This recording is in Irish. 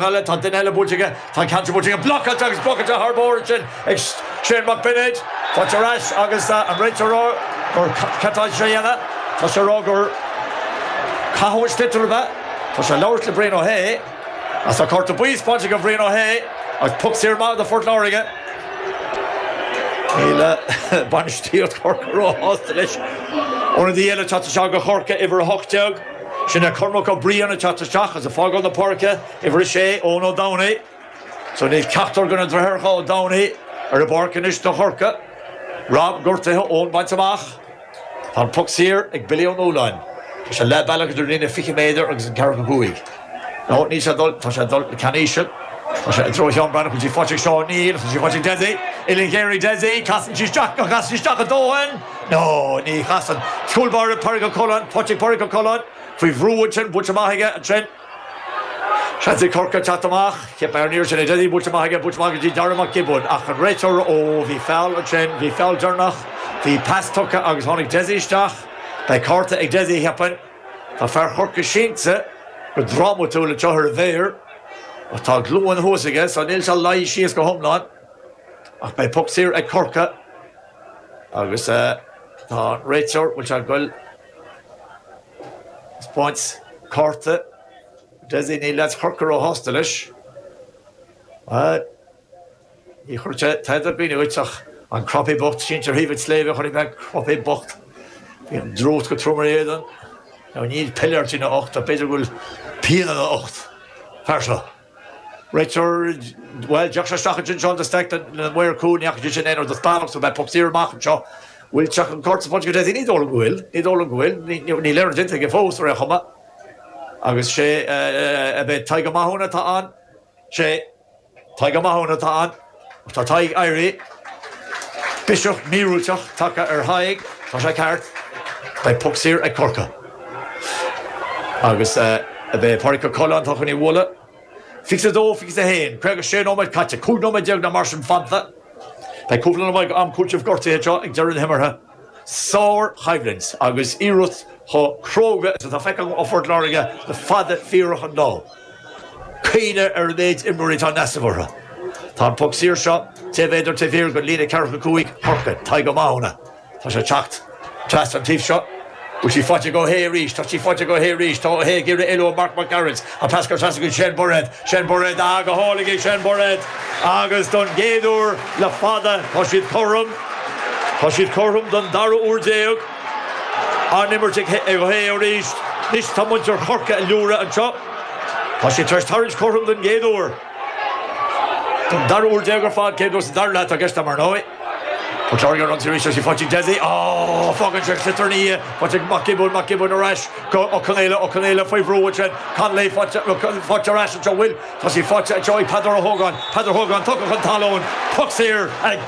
Eile, tá duine eile buailte aige, tá an ceann seo buailte aige, blocáilte agus blocáilte thar barr ansin ag Shane Mac Bionaid, faighte ar ais agus an réiteoir ag rá gur cad tá sé a dhéanamh, tá sé ag rá gur caitheadh an sliotar ab ea, tá sé ag labhairt le Brian Ó hAodha agus tá cárta buí spáinte ag Brian Ó hAodha agus poc saor maith do Phort Láirge. Níl bainistíocht Chorcaí róshásta leis. Ionadaí eile ag teacht isteach do Chorcaigh, uimhir 18. Sin é Cormac Ó Briain ag teacht isteach agus ag fágáil na páirce, uimhir 6, Eoin Ó Domhnaill. So níl ceachtar de na deartháireacha Ó Domhnaill ar an bpáirc anois do Chorcaigh. Rob gortaithe, Eoin bainte amach. Tá an poc saor ag Billy Ó Nualláin. Tá sé leath bealach idir líne 20 méadar agus an ceathracha cúig. No, níl sé ag dul, tá sé ag dul le ceann íseal. Tá sé i dtreo Sheán Breathnach, bhfuil sí faighte ag Seán? Níl, tá sí faighte ag Dessie. Uillinn ghéar ag Dessie, casann sí isteach, an gcasann sí isteach a dóthain? No, ní chasann. Cúl báire Pádraig Ó Coileáin, faighte ag Pádraig Ó Coileáin, faoi bhrú ansin, buailte amach aige ansin. Seans ag Corcaigh teacht amach. Cheap mé ar an iarraidh sin é Dessie, buailte amach aige, buailte amach go dtí Dara Mac Giobúin ach an réiteoir, ó, bhí feall ansin, bhí feall deireanach, bhí pas tugtha agus tháinig Dessie isteach. Beidh cárta ag Dessie, cheapfainn. Tá fear Chorcaí sínte go drámatúil anseo ar a mhéar ach tá a ghlúin thuas aige so níl sé luí síos go hiomlán ach beidh poc saor ag Corcaigh. Agus tá an réiteoir, bhfuil sé ag goil ag spáint cárta Dessie, níl leaids Chorcaí róshásta leis. Bhuel, ní chuirfeadh sé tada i gcuimhne dhuit ach an Croppy bocht sínte ar thaobh an tsléibhe, chonaic mé Croppy bocht, bhí an drúcht go trom ar a éadan. Now níl piléar ina ucht ach b'fhéidir go bhfuil pian ina ucht, fear seo. Réiteoir, Bhuel, d'fhéach sé isteach ansin, Seán de Staic, lena mhaor cúil, ní fhaca sé sin aon rud as bealach, so beidh poc saor amach anseo. Bhfuil sé chun cárta a spáint go Dessie? Ní dóigh liom go bhfuil. Ní dóigh liom go bhfuil. Níl aon rud déanta aige fós, ar aon chuma. Agus sé, ab é Tadhg Ó Mathúna atá ann? Sé Tadhg Ó Mathúna atá ann. Tá Tadhg éirithe. Biseach míorúilteach tagtha ar Thadhg. Tá sé ceart. Beidh poc saor ag Corcaigh. Agus ab é Pádraic Ó Coileáin atá chun í a bhualadh. 22, 21, 56 nóiméad caite, 15 nóiméad nó mar sin fanta. Beidh cúpla nóiméad am cúitimh gortaithe anseo ag deireadh na himeartha. Sár-choimhlint agus iarracht chomh cróga is atá feicthe agam ó Phort Láirge le fada fíorach an lá. Caoineadh ar an méid imreoirí atá in easnamh orthu. Tá an poc saor seo 6 mhéadar taobh thiar den líne 45 Chorcaigh, Tadhg Ó Mathúna. Tá sé ag teacht trasna an taobh seo. Bhfuil sí faighte ag Ó hAodha arís? Tá sí faighte ag Ó hAodha arís. Tá Ó hAodha ag iarraidh éalú ó Mark Mac Gearailt. An pas curtha trasna go Shane Bairéad. Shane Bairéad, ah, go hálainn ag Shane Bairéad. Agus don gcéad uair le fada tá siad cothrom. Tá siad cothrom don dara huair déag. An-imirt ag Ó hAodha arís. Anois tá muintir Chorcaí ag liúradh anseo. Tá siad tar éis tarraingt cothrom don gcéad uair. Don dara huair déag ar fad, céad uair sa dara leath atá i gceist agam ar ndóigh. Port Láirge ar ionsaí arís, tá sí faighte ag Dessie. Á, fágann sé sliotar ina dhiaidh. Faighte ag Mac Giobúin, Mac Giobúin ar ais go Ó Conaola, Ó Conaola faoi bhrú ansin. Connolly faighte, faighte ar ais anseo, bhfuil? Tá sí faighte anseo ag Peadar Ó hÓgáin, Peadar Ó hÓgáin tugtha chun talún. Poc saor ag.